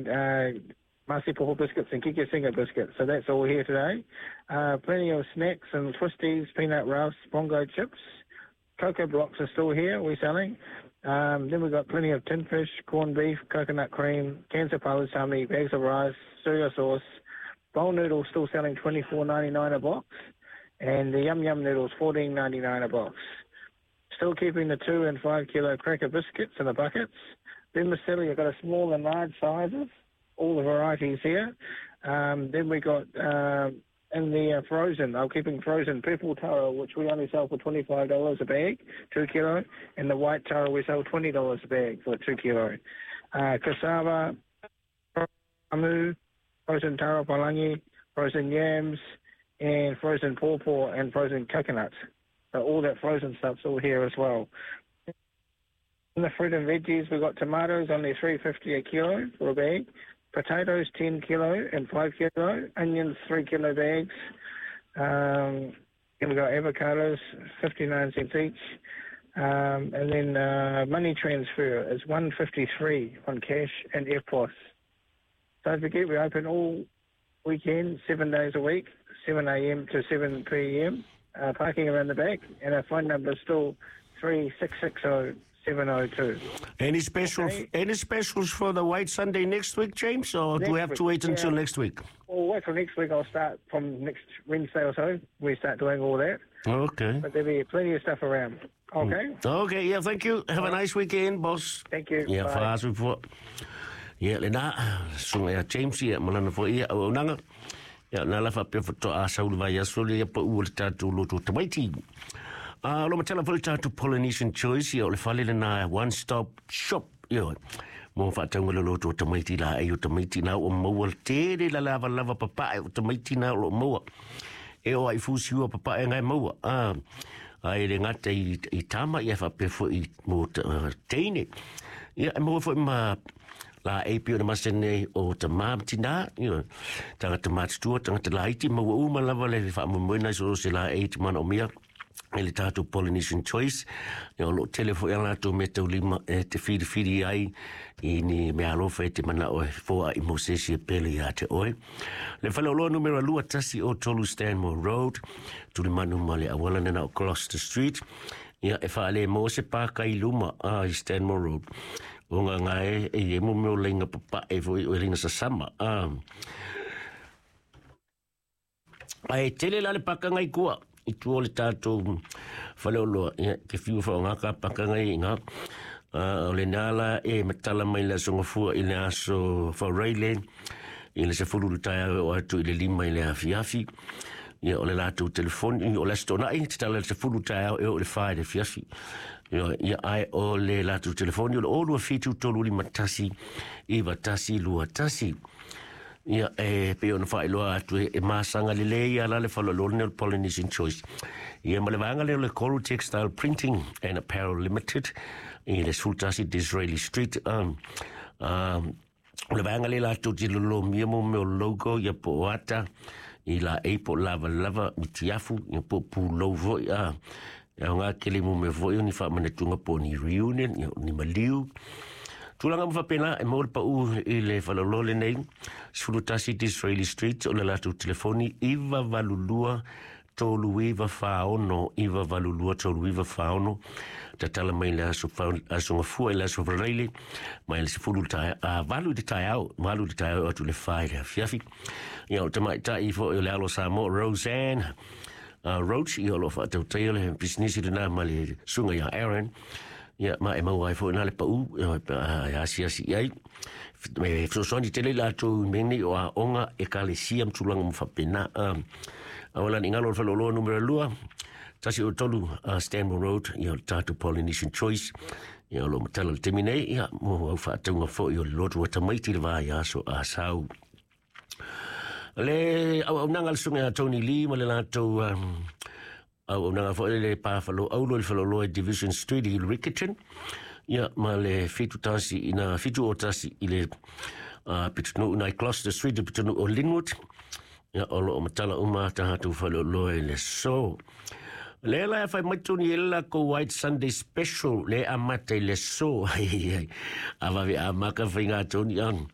And Masi Popo biscuits and Kiki Singer biscuits. So that's all here today. Plenty of snacks and twisties, peanut rafts, bongo chips. Cocoa blocks are still here, we're selling. Then we've got plenty of tin fish, corned beef, coconut cream, cans of palusami, bags of rice, soya sauce. Bowl noodles still selling $24.99 a box. And the yum yum noodles $14.99 a box. Still keeping the 2 and 5 kilo cracker biscuits in the buckets. Vermicelli, I've got a small and large sizes, all the varieties here. Then we got in the frozen, I'm keeping frozen purple taro, which we only sell for $25 a bag, 2 kilo, and the white taro we sell $20 a bag for 2 kilo. Cassava, amu, frozen taro palangi, frozen yams, and frozen pawpaw and frozen coconut. So all that frozen stuff's all here as well. In the fruit and veggies, we've got tomatoes only $3.50 a kilo for a bag, potatoes 10 kilo and 5 kilo, onions 3 kilo bags, and we've got avocados 59 cents each, and then money transfer is $1.53 on cash and EFTPOS. Don't forget, we open all weekend, 7 days a week, 7 a.m. to 7 p.m., parking around the back, and our phone number is still 3660 702. Any special, Okay. Any specials for the White Sunday next week, James, or do we Next have to week, wait until yeah. next week? Well, wait till next week. I'll start from next Wednesday or so. We start doing all that. Okay. But there'll be plenty of stuff around. Okay? Okay, yeah, thank you. Have a nice weekend, boss. Thank you. Ia, Bye. faasu fo. Ia, lena, susuga ia James, ia, ma lana foi, ia, auaunaga. Ia, na la faapea faatoa sau le vaiaso lea pau o le tatou loto tamaiti. A o lo matala foi le tatou Polynesian Choice, ia, o le fale lena one stop shop, ia, mo faatauga le loto tamaiti laei o tamaiti na ua maua le tele la lavalava papae o tamaiti na o loo maua. E oo ai fusiua papae ngai maua. A, ai le gata i, i tama, ia faapea foi mo teine. Ia, e maua foi ma laei pei ona masani nei o tamā ma tinā, ioe, tagata matutua, tagata laiti, maua uma lava le faamoemoena i so o se laei e te manaomia e le tatou Polynesian Choice. Ia, o loo tele foi a latou meataulima e te filifili ai i ni meaalofa e te manao e foai mo se isi e pele iā te oe. Le faleoloa numera 213 Stanmore Road, tulimanu ma le auala lena o Gloucester Street. Ia, e faalemo se pāka i luma a i Stanmore Road. O ngā ngā e, e e mo meo leinga papae foi o e leinga sasama. A, Ae tele la le pakanga i kua i tua o le tatou faleoloa. Ia, ke fiu whaonga ka pakanga i ngā. O le nā la e matala mai le aso gafua i le aso Fauraile i le 10 le taeao e oo atu i le 5 i le afiafi. Ia, o le latou telefoni, o le Aso Toonai, te tala i le 10 taeao e oo i le 4 i le afiafi. Ia, ia, ae o le latou telefoni o le 0 2 7 3 5 1 9 1 2 1. Ia, e pei ona faailoa atu e masaga lelei lava la le faleoloa lenei o le Polynesian Choice. Ia, ma le vaega lea o le Coral Textile Printing and Apparel Limited i le 11 Disraeli Street. O le vaega lea latou te lolomia mo mea o logo, ia po o ata, i laei po o lavalava, mitiafu, ia po o pulou foi. A, e aoga tele mo mea foi o ni faamanatuga po o ni reunion, ia, o ni maliu. Tulaga uma faapena e maua le pau i le faleoloa lenei, 11 Disraeli Street, o le latou telefoni 982 3946, 982 3946. Tatala mai le aso, aso Gafua i le aso Faraile, mai le 10 le taeao, a, 8 i le taeao, 8 i le taeao atu i le 4 i le afiafi. Ia, o le tamaitai foi o le alo o Samoa, Roseanne Roach, ia o lo o faatautaia le pisinisi lena ma le susuga ia Aaron. Ia, ma e maua ai foi i ina le pau pe a e asiasi i ai. E fesoasoani tele i latou i mea nei o aoga, ekalesia ma tulaga uma faapena. Aua la ne i galo o le faleoloa numera 2, 103 Stanmore Road, ia o le tatou Polynesian Choice. Ia, o lo o matala i le taimi nei, ia, mo au faatauga foi o le lotu a tamaiti i le vaiaso a Sau. Le auaunaga a le Susuga ia Tony Lee ma le latou auaunaga foi le pa faleaulo i le faleoloa i Division Street i Riccarton, ia, ma le 71 ina 71 i le pitonuu nai Gloucester Street i pitonuu o Linwood. Ia, o lo o matala uma tatou faleoloa i le aso. Lea la e fai mai tonu i le lakou White Sunday Special le amata i le aso. A vave amaka faiga tonu.